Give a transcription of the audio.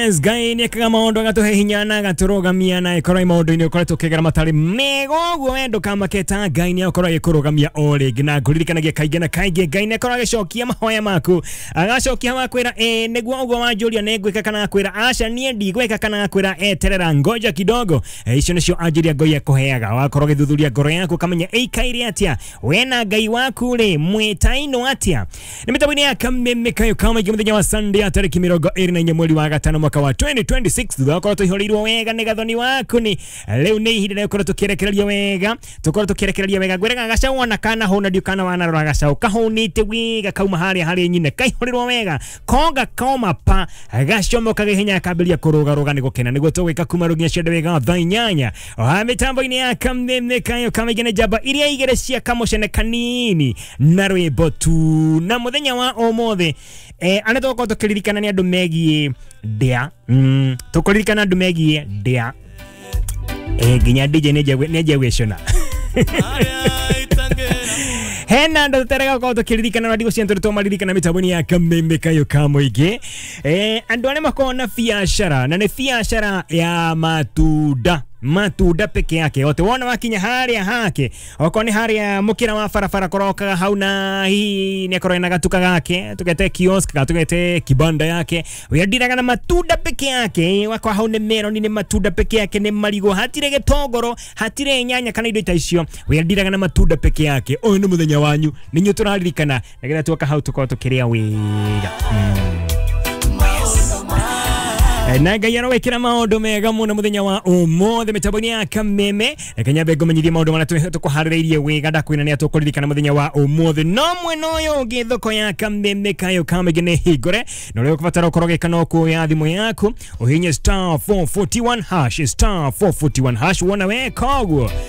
Ngai nĩ ekaga maũndũ agatũhe hinya na agatũrũgamia na ĩkorwo maũndũ-inĩ ũkoretwo ũkĩgera matarĩ mega ũguo we ndũkamaketa. Ngai nĩ akorwo agĩkũrũgamia o rĩngĩ, na ngũririkanagia kaingĩ na kaingĩ Ngai nĩ akorwo agĩcokia mahoya maku, agacokia wakwĩra ĩ nĩguo ũguo wanjũria nĩ ngwĩka, kana akwĩra aca niĩ ndigwĩka, kana akwĩra eterera ngoja kidogo. Icio nĩcio anjĩria Ngai akũheaga. Wakorwo ũgĩthuthuria ngoro yaku ũkamenya ĩikaire atĩa, we na Ngai waku rĩ mwĩtainwo atĩa. Nĩ mĩtambo-inĩ ya Kameme Kayo Kamaingĩ mũthenya wa Sunday ya tarĩki 24 mweri wa gatano mwaka wa 2026, thutha wa korwo tũihũrĩirwo wega nĩ gathoni waku ni rĩu nĩ ihinda rĩa gũkorwo tũkĩrekereria wega, tũkorwo tũkĩrekereria wega. Ngwĩraga gacau ona kana hũna ndiũ kana wanarora gacau kahũnĩte wega kauma harĩa harĩ nyina kaihũrĩrwo wega konga koma pa gacomoka gĩhenya kambĩrĩria kũrũgarũga nĩ gũkena. Nĩguo tũgwĩka kuma rũginya ciende wega thaa 8 wa mĩtambo-inĩ ya Kameme Kayo Kamaingĩ nĩ njamba iria igĩrĩ cia kamũcene kanini na rwĩmbo tu. Na mũthenya wa ũmũthĩ arĩa tũgũkorwo tũkĩririkana nĩ andũ megiĩ ndĩa. Tũkũririkana andũ megiĩ ndĩa. Nginya DJ nĩ gwĩcũna hena andũ tũterega gũkorwo tũkĩririkana na ndigũ ciantu tũmaririkana mĩtambo-inĩ ya Kameme Kayo ka Mũingĩ. Andũ arĩa makoragwo na biacara, na nĩ biacara ya matunda, matunda peke yake ote wona wakinya haria hake, okorwo nĩ haria mũkĩra wa barabara korokaga hau, na hihi nĩ akorwo ena gatuka gake tugete kiosk kana tugete kibanda yake wendiraga na matunda peke yake. Wakwa hau nĩ meroni, nĩ matunda peke yake, nĩ marigũ, hatirĩ gĩtongoro, hatirĩ nyanya kana indo ta icio, wendiraga na matunda peke yake. Ũyũ nĩ mũthenya wanyu, nĩ inyuĩ tũraririkana nĩgetha tuoka hau tũkorwo tũkĩrĩa wega. Na Ngai arowekĩra maũndũ mega mũno mũthenya wa ũmũthĩ mĩtambo-inĩ ya Kameme. Reke nyambe ngũmenyithie maũndũ marĩa tũkũharĩrĩirie wega, ndakwĩra nĩ tũkũririkana mũthenya wa ũmũthĩ. No mwena ũyũ ũngĩ thoko ya Kameme Kayo Kamĩngĩ nĩ hingũre, na ũrĩa ũkũbatara ũkorwo ũgĩka no kuoya thimũ yaku ũhihinye *441#, *441# wona weka ũguo.